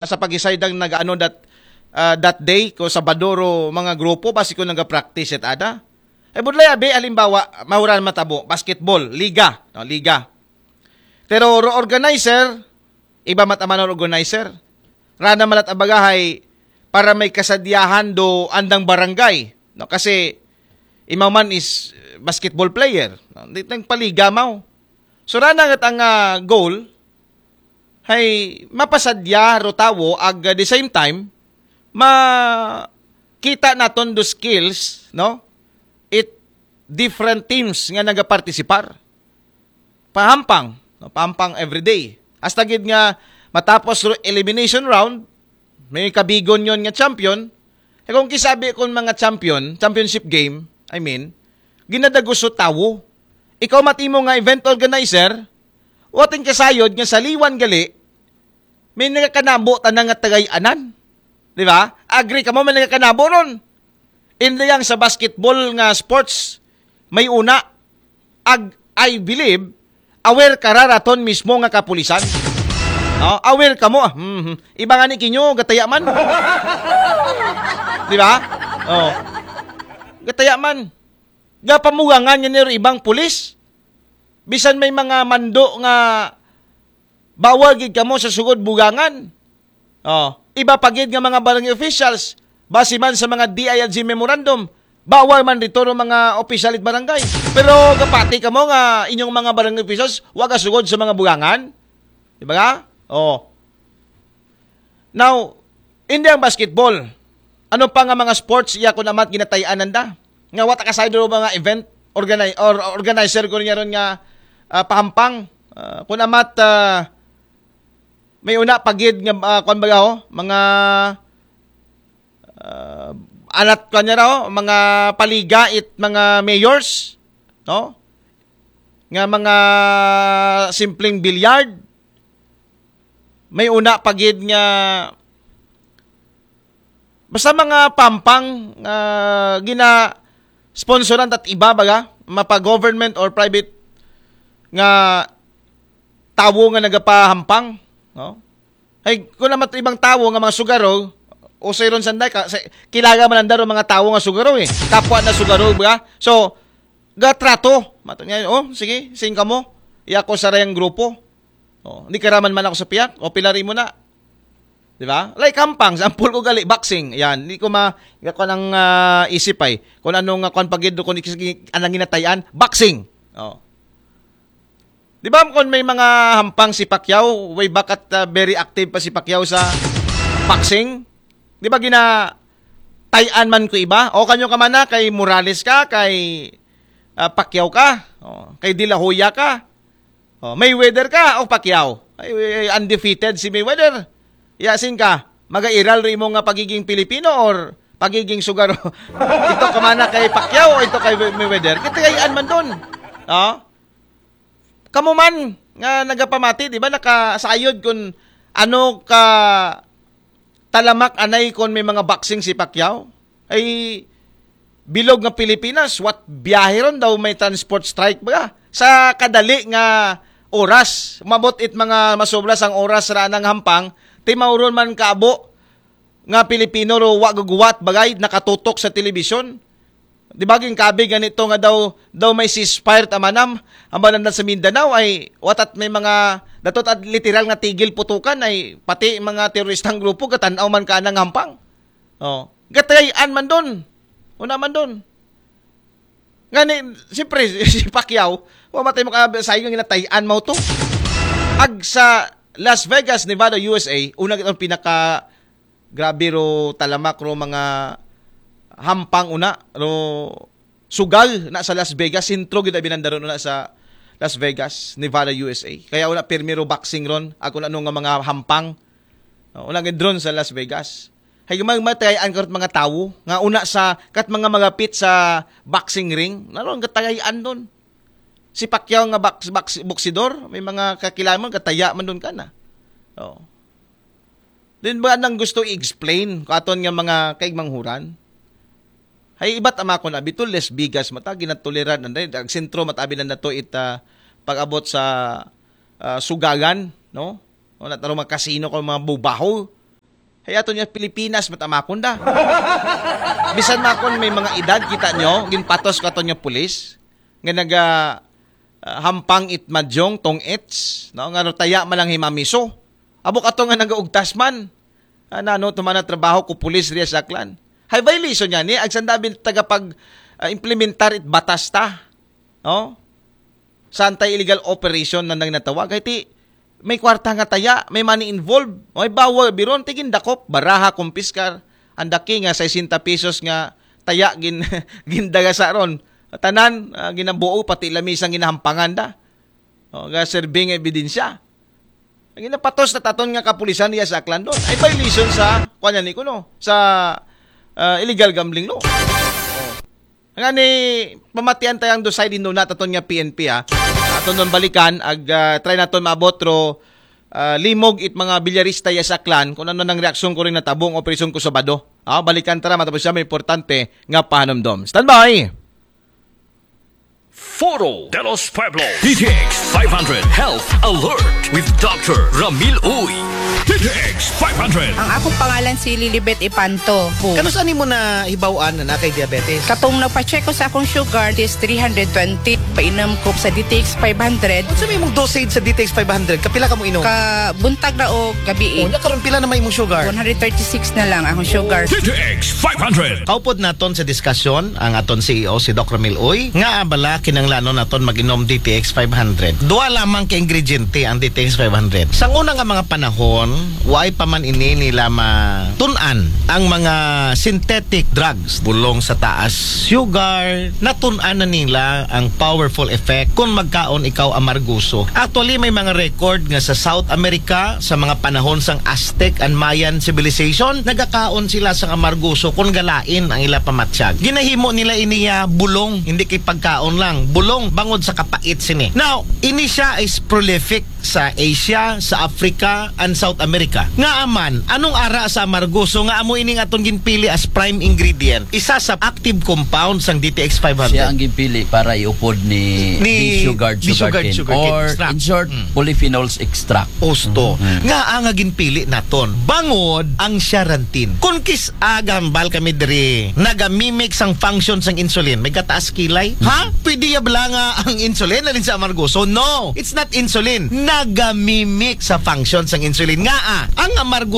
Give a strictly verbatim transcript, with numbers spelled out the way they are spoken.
sa pag-decide ang nag-ano that, ah, that day, ko Sabado ro mga grupo, basi ko nag-practice it ada. Eh, budlay abi, halimbawa, mahuran matabo, basketball, liga, no, liga. Pero ro organizer, iba mataman ro organizer. Rana malat abagahay para may kasadyahan do andang barangay. No? Kasi, imaw man is, eh, basketball player. No? Di tang paliga maw. So, rana ngat ang, ah, goal, hay mapasadya ro tawo ag, ah, the same time, ma-, kita naton do skills, no? It different teams nga nagapartisipar. Pahampang, no? Pahampang everyday. Hasta gid nga matapos ro elimination round, may kabigon yon nga champion. Eh, kung kisabi kon mga champion, championship game, I mean, ginadagos ro tawo. Ikaw matimo nga event organizer, wating kasayod nga sa liwan gali, may nagakanabo tanan nga tagay-anan. Di ba? Agree kamo, may nagakanabo ron. Hindi yang sa basketball nga sports, may una, ag, I believe, aware ka ra raton mismo nga kapulisan. No? Aware kamo. Ah, mhm. Iba nga ni kinyo, gataya man. Di ba? Oh. Gataya man. Gapamugangan nga niro ibang pulis. Bisan may mga mando nga bawal gid kamo sa sugod bugangan. Oh, iba pa gid nga mga barangay officials, base man sa mga D I L G memorandum, bawal man dito ro mga opisyal it barangay. Pero gapati kamo nga inyong mga barangay officials, wa gasugod sa mga bugangan. Di ba nga? Oh. Now, hindi ang basketball. Ano pa nga mga sports iya kon amat ginatay-anan da? Nga wa ta kasayod ro mga event organi-, or organizer ko niya ron nga, ah, pahampang. Ah, kon amat, ah, may una pa gid nga, ah, kwan ba ho? Mga, ah, alat kwan niya raw, mga paliga it mga mayors, no? Nga mga simpleng billiard. May una pa gid nga basta mga pampang nga gina-sponsoran tat iba baga, mapa government or private nga tawo nga nagapahampang, no? Ay, kung naman ibang tawo nga mga sugaro, usoy ron sanday ka, sa, kilala man nanda ron mga tawo nga sugaro eh. Kapwa na sugaro, ba? So, gatrato. Mato niya, oh, sige, sing kamo. Iya ko sa rayang grupo. Oh, hindi karaman man ako sa piyak. O, pilari mo na. Di ba? Like, kampang, sample ko gali, boxing. Yan, hindi ko ma, hindi ko nang ah, isip ay. Kung ano nga, kung pagid, kung ik-, anang ginatayan, boxing. Oh. Di ba kung may mga hampang si Pacquiao, way back at ah, very active pa si Pacquiao sa boxing? Di ba gina tayan man ko iba? O kanyo ka man na, kay Morales ka, kay ah, Pacquiao ka, o, kay De La Hoya ka, o, Mayweather ka, o Pacquiao. Ay, ay, undefeated si Mayweather. Yasin ka, magairal rin mo nga pagiging Pilipino or pagiging sugaro? Ito ka man na kay Pacquiao o ito kay Mayweather? Kitayaan man doon. O? Kamo man nga nagapamati, di ba, nakasayod kung ano ka talamak anay kung may mga boxing si Pacquiao. Ay, bilog nga Pilipinas, what biyahe ron daw may transport strike ba? Sa kadali nga oras, mabot it mga masobra sang oras ra nang hampang, timauron man kaabo nga Pilipino ro wa guguwat bagay nakatutok sa telebisyon. Di ba, ginkabi ganito nga daw, daw may ceasefire ta manam, ang mananda sa Mindanao ay watat may mga, datot at literal nga tigil putukan ay pati mga teroristang grupo gatanaw man ka nang hampang. Oh, gatayaan man doon. Una man doon. Nga ni, siyempre, si Pacquiao, wa matay mo ka sa inyo ginatayan mo to. Ag sa Las Vegas, Nevada, U S A, una kitang pinaka grabe ro talamak ro mga hampang una, ro sugal na sa Las Vegas, sentro gid abi nanda ron una sa Las Vegas, Nevada, U S A. Kaya una pirmi ro boxing ron, ako na ano nga mga hampang. No, una gid ron sa Las Vegas. Hay mag matayaan karot mga tawo nga una sa kat mga magapit sa boxing ring, naron gatayaan doon. Si Pacquiao nga box, box, boksidor, may mga kakilala mo, gataya man doon ka na. Oh. Din ba nang gusto i-explain ko aton nga mga kaigmanghuran? Hay ibat ama ko na bito, Las Vegas mata, ginatoleran na dahil ang sentro matabi na nato it ah, pag-abot sa ah, sugagan, no? O nataro mga kasino ko mga bubaho. Hay aton nga Pilipinas, matamakon da. Bisan makon may mga edad, kita nyo, ginpatos ko aton nga pulis, nga naga ah, hampang it madyong tong its, no? Nga taya man lang himamiso. Abo kato nga nagaugtas man. Ah, nano tumana trabaho ko pulis riya sa Aklan. Hay violation niya ni, agsan dabil tagapag ah, implementar it batas ta. No? Sa anti-illegal operation na nang natawag. Hay ti, may kwarta nga taya, may money involved. May bawal biron, tigin dakop, baraha, kumpiskar. Ang daki nga sesenta pesos nga taya gin, gindagasa ron. Tanan, ah, ginabuo, pati lamisang ginahampangan da. O, ga serving ebidensya. Ang ginapatos na taton nga kapulisan niya sa Aklan doon. Ay violation sa, kuwan ni kuno, sa ah, illegal gambling law. Nga ni, pamatian tayang dosay din doon na taton nga P N P, ha. Aton doon balikan, ag ah, try naton maabot ro ah, limog it mga bilyarista ya sa Aklan, kung ano nang reaksyon ko rin natabong operasyon ko Sabado. Ah, balikan tara, matapos siya may importante nga pahanumdom. Standby! Foro de los Pueblos. D T X five hundred Health Alert with Doctor Ramil Uy. D T X five hundred. Ang akong pangalan si Lilibet Ipanto. Kano saan mo na hibaw-an na kay diabetes? Katong nagpa-check ko sa akong sugar is three hundred twenty. Painom ko sa D T X five hundred. Sa may mong dosage sa D T X five hundred, kapila ka mo inom? Ka buntag na o gabi. Oh, nya karon pila na may imong sugar? One hundred thirty-six na lang akong sugar. D T X five hundred. Kaupod naton sa diskusyon ang aton C E O si Doc Ramil Uy, nga abala kinanglanon naton mag-inom D T X five hundred. Duha lamang ka ingrediente ang D T X five hundred. Sa una nga mga panahon, waay pa man ini nila matun-an ang mga synthetic drugs. Bulong sa taas sugar, natun-an na nila ang powerful effect kung magkaon ikaw amarguso. Actually, may mga record nga sa South America, sa mga panahon sang Aztec and Mayan civilization, nagakaon sila sa amarguso kung galain ang ila pamatyag. Ginahimo nila iniya bulong, hindi kay pagkaon lang. Bulong bangod sa kapait sini. Now, ini siya is prolific sa Asia, sa Africa, and South America. Nga aman, anong ara sa amargoso nga amo ining atong ginpili as prime ingredient? Isa sa active compound sang D T X five hundred. Siya ang ginpili para iupod ni, Ni ni sugar, Disugard sugarcane. Sugarcane Or Extract. in short, Mm. polyphenols extract. Osto. Nga ang nga ginpili naton. Bangod ang charantin. Kung kis agambal kami diri, nagamimic sang function sang insulin, may kataas kilay. Ha? Pwede ya bala nga ang insulin alin sa amargoso? No, it's not insulin. Nagamimic sa function sang insulin. Nga ah, ang amargoso